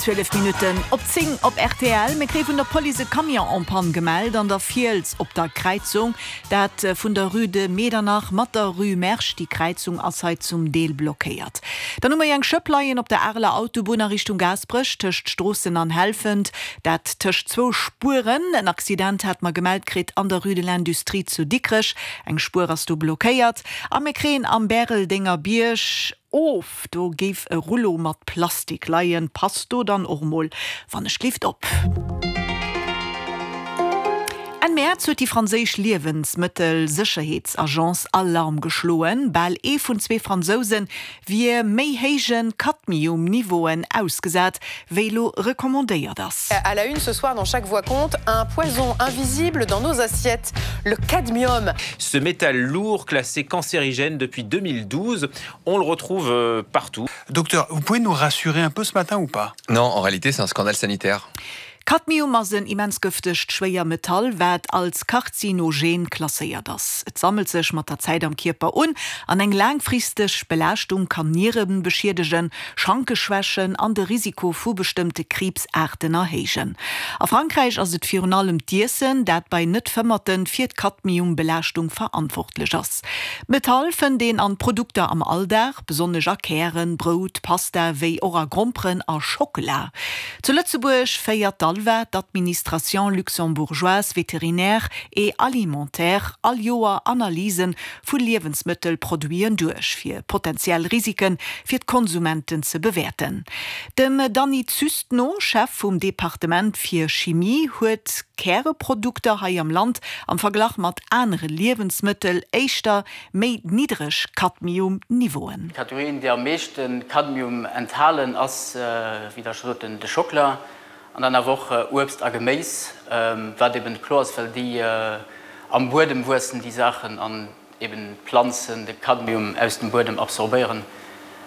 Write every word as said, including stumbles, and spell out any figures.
Zwielef Minutten op zéng op rtl. Mir kréie vun der Police e Camion en panne gemellt an der Fiels op der Kräizung, dat vun der Rue de Medernach mat der Rue Mersch. Déi Kräizung ass hei zum Deel blockéiert. Dann hu mer eng Schëpp leien op der Areler Autobunn a Richtung Gaasperech tëscht Stroossen an Helfent, dat tëscht zwou Spueren. En Accident hate mer gemellt kritt an der Rue de l'Industrie zu Dikrech. Eng Spuer ass do blockéiert. A mir kréien am Bäreldenger Bierg of, do géif e Rullo mat Plastik leien. Passt do dann och mol wann ech gelift op. Enn Mäerz huet déi franséisch Liewensmëttelsécherheetsagence Alarm geschloen, Bal ee vun zwee Fransouse wier méi héije Cadmium-Niveauen ausgesat, wéi elo recommandéiert ass. À la une ce soir dans Chaque voix compte, un poison invisible dans nos assiettes, le cadmium. Ce métal lourd classé cancérigène depuis deux mille douze, on le retrouve partout. Docteur, vous pouvez nous rassurer un peu ce matin ou pas? Non, en réalité c'est un scandale sanitaire. Cadmium ass en immens gëftegt Schwéiermetall, wat als Karzinogen klasséiert ass. Et sammelt sech mat der Zäit am Kierper un an eng laangfristeg Belaaschtung kann Niere beschiedegen, Schanke schwächen an de Risiko vu bestëmmte Kriibsaarten erhéijen. A Frankräich ass et virun allem d'Iessen, dat bei Net-Fëmmerte fir d'Cadmium-Belaaschtung verantwortlech ass. D'Metall fënnt een an Produkter am Alldag, besonnesch a Kären, Brout, Pasta, wéi och a Gromperen a Schockela. Zu Lëtzebuerg féiert d'ALVA, d'Administration luxembourgeoise vétérinaire et alimentaire, all Joer Analyse vu Liewensmëttelproduiten duerch, fir potentiell Risike fir d'Konsumenten ze bewäerten. Dem Dany Züst no, Chef vum Departement fir Chimie, huet Käreprodukter hei am Land am Verglach mat anere Liewensmëttel éischter méi niddreg Cadmium-Niveauen. D'Kategorien, déi am meeschte Cadmium enthalen, ass, wéi Der scho sot, de Schockela an dann awer och Uebst a Geméis, wat eben kloer ass, well déi am Buedem wuessen, déi Saachen, an eben d'Planzen de Cadmium aus dem Buedem absorbéieren.